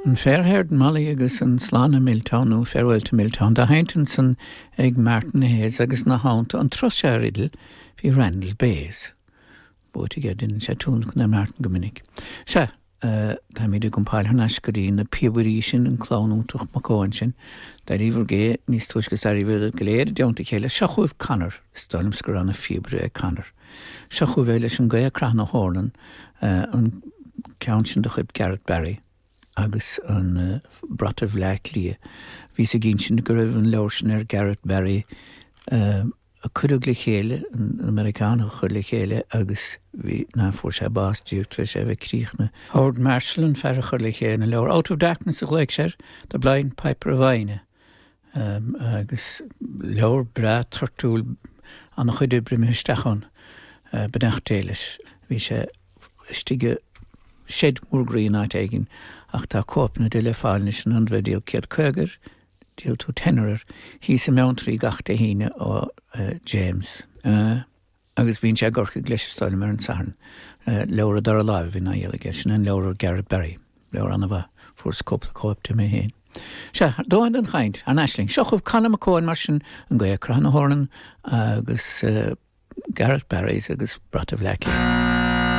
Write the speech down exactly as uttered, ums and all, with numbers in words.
An Fair-Haired Molly agus an Slán i Milltown nó Farewell to Milltown dá sheinnt ansan ag Martin Hayes agus ina theannta an turas seo ar fhidil bhí Randall Bayes. Buaite aige déanann sé tionlacan ar Martin go minic. Sea, táimid ag iompáil thar n-ais go dtí na píobairí sin an clann iontach Mac Eoin sin. D'éiríobhair gé níos túisce is d'éiríobhair go léir i dteannta a chéile. Seo chugaibh Conor, is dóigh liomsa gur ana-phíobaire é Conor. Seo chugaibh é leis an Gaoth ag Croitheadh na hEornan, an ceann sin de chuid Gareth Barry agus an Brat Bhaile Átha Cliath. Bhíos ag insint go raibh an leabhar sin ar Gareth Barry a cuireadh le chéile, an Meiriceánach a chuir le chéile agus bhí ná fuair sé bás díreach tar éis é a bheith críochnaithe. Howard Marshall an fear a chuir le chéile an leabhar Out of Darkness a ghlaoigh sé air, The Blind Piper of Inagh. Um, agus leabhar breá toirtiúil an-chuid oibre imithe isteach ann. Uh, Beannacht Dé leis. Bhí sé istigh shed mór groí in áit éigin ach tá cóipeanna de le fáil anois in ionad bheith díol céad caoga air, díol tú tenner air, thíos i mBeanntraí gach Dé hAoine ó uh, James. Uh, agus bíonn sé i gCorcaigh leis is dóigh liom ar an Satharn. Uh, leabhar a dara láimh bhí ná aige sin an leabhar Gareth Barry, leabhar an-mhaith fuaireas cúpla cóip de mé féin. Sea, dóthain den chaint, ar ais linn. Seo chugaibh Conor McCohen mar sin an Gaoth ag Croitheadh na hEornan agus uh, Gareth Barry's agus Brat Bhaile Átha Cliath.